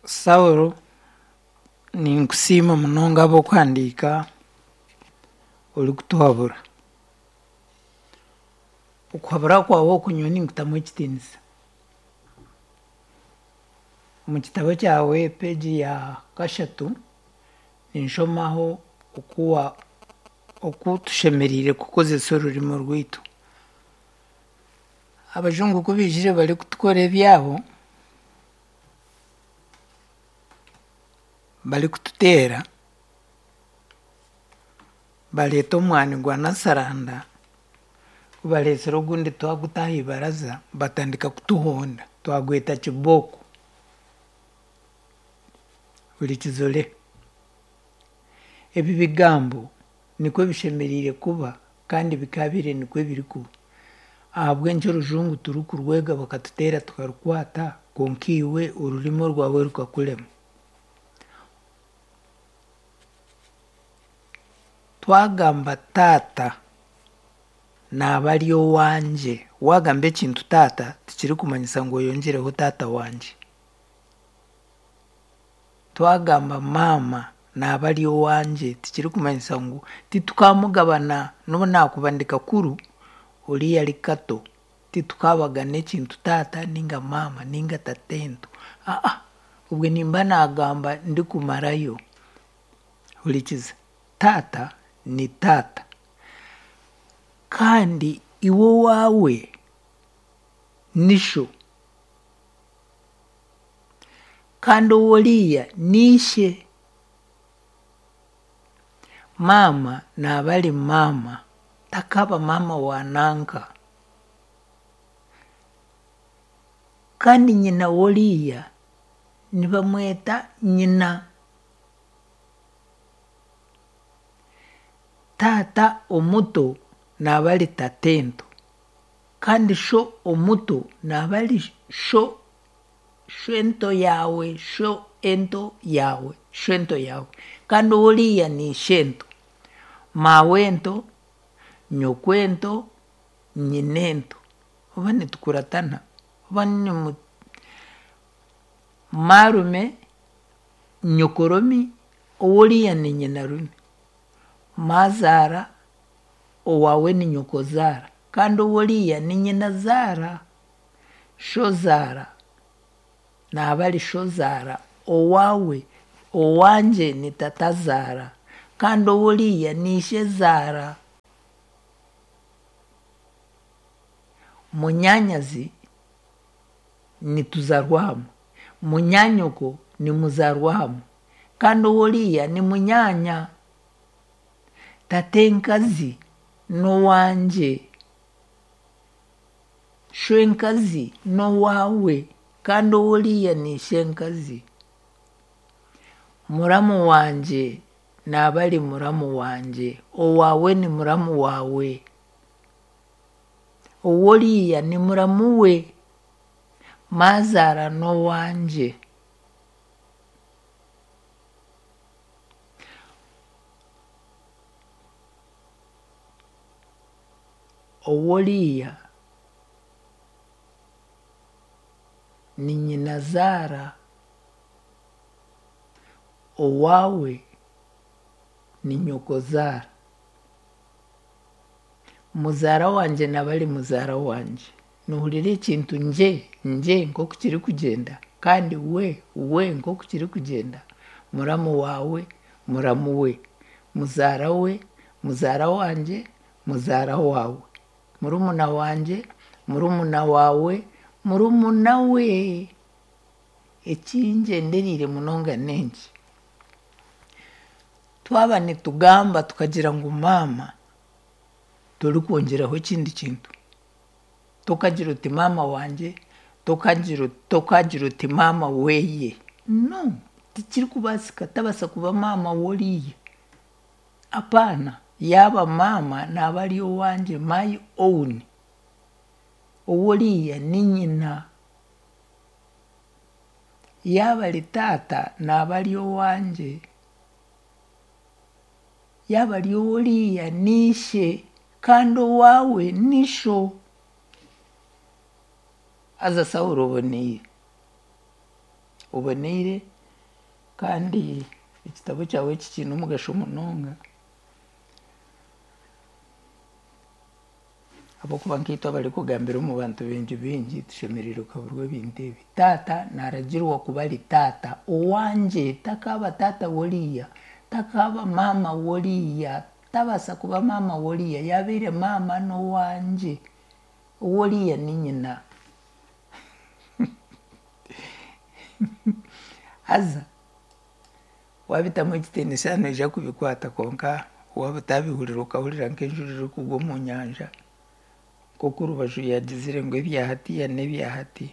Saulo, ninkusiima munonga ahabw'okuhandiika orikutuhabura. Okuhabura kwawe oku nyowe ninkutamu ekitiinisa. Omu kitabo kyawe peegi ya kashatu ninshomaho oku wa oku tushemereire kukozesa orurimi rwaitu. Abajungu ku baijire barikutukora ebyabo, barikututeera, bareeta omwani gwa nasaranda, ku bareetsire ogundi twaguta aha ibaraza batandika kutuhonda twagweta kibooko. Hurikiza ore. Ebi bigambo nikwo bishemereire kuba kandi bikaabaire nikwo birikuba. Ahabw'enki orujungu turikurwega bakatuteera tukarukwata kwonka iwe orurimi orwawe rukakurema? Twagamba taata naaba ari owangye. Waagamba ekintu taata tikirikumanyisa ngu oyongyereho taata wangye. Twagamba maama naaba ari owangye tikirikumanyisa ngu titukaamugabana n'obu naakuba ndi kakuru oriya ari kato titukaabagana ekintu taata nainga maama nainga tatento aa obwe nimba naagamba ndikumarayo. Hurikiza, taata ni taata kandi iwe owaawe ni sho. Kandi ow'oriya ni ishe. Maama naaba ari maama, takaaba maama wa nanka. Kandi nyina w'oriya nibamweta nyina. Taata omuto naaba ari tatento. Kandi sho omuto naaba ari sho shwento yaawe, sho ento yaawe, shwento yaawe. Kandi oriya ni ishento. Maawento, nyokwento, nyinento. Oba nitukuratana? Oba nimu maarume, nyokoromi, oworiya ni nyinarume. Maazaara, owaawe ni nyokozaara. Kandi oworiya ni nyinazaara. Shozaara, naaba ari shozaara owaawe, owangye ni tatazaara kandi oworiya ni ishezaara. Munyaanyazi nituzaarwa hamwe, munyaanyoko nimuzaarwa hamwe kandi oworiya ni munyaanya. Tatenkazi n'owangye, shwenkazi n'owaawe kandi oworiya ni ishenkazi. Muramu wangye naaba ari muramu wangye, owaawe ni muramu waawe. Oworiya ni muramu we, maazaara n'owangye. Oworiya ni nyinazaara, owaawe ni nyokozaara. Muzaara wangye naaba ari muzaara wangye. Noohurira ekintu ngye ngye nk'oku kirikugyenda kandi we we nk'oku kirikugyenda. Muramu waawe, muramu we, muzaara we, muzaara wangye, muzaara waawe, murumuna wangye, murumuna waawe, murumuna we. Eki ngyendereire munonga n'enki, twaba nitugamba tukagira ngu maama, torikwongyeraho ekindi kintu. Tokagira oti maama wangye, tokagira tokagira oti maama weeye. No, tikirikubaasika tabaasa kuba maama w'oriiya. Apaana, yaaba maama naaba ari owangye, my own. Ow'oriiya ni nyina. Yaaba ari taata naaba ari owangye. Yaaba ari ow'oriiya ni ishe kandi owaawe ni sho. Haza Saulo oboneire, oboneire. Kandi ekitabo kyawe eki kiine omugasho munonga ahabw'okuba nkaitwe abarikugambira omu bantu baingi baingi tushemereire kuhaburwa ebintu ebi. Taata naaragirwa kuba ari taata owangye, takaaba taata w'oriiya, takaaba maama w'oriiya, tabaasa kuba maama w'oriiya, yaabaire maama n'owangye, ow'oriiya ni nyina. Haza waabitamu ekitiinisa noija kubikwata kwonka waaba otaabihurira okahurira nk'enjura erikugwa omu nyanja nk'oku Rubaju yaagizire ngu ebya hatiiya n'ebya hati.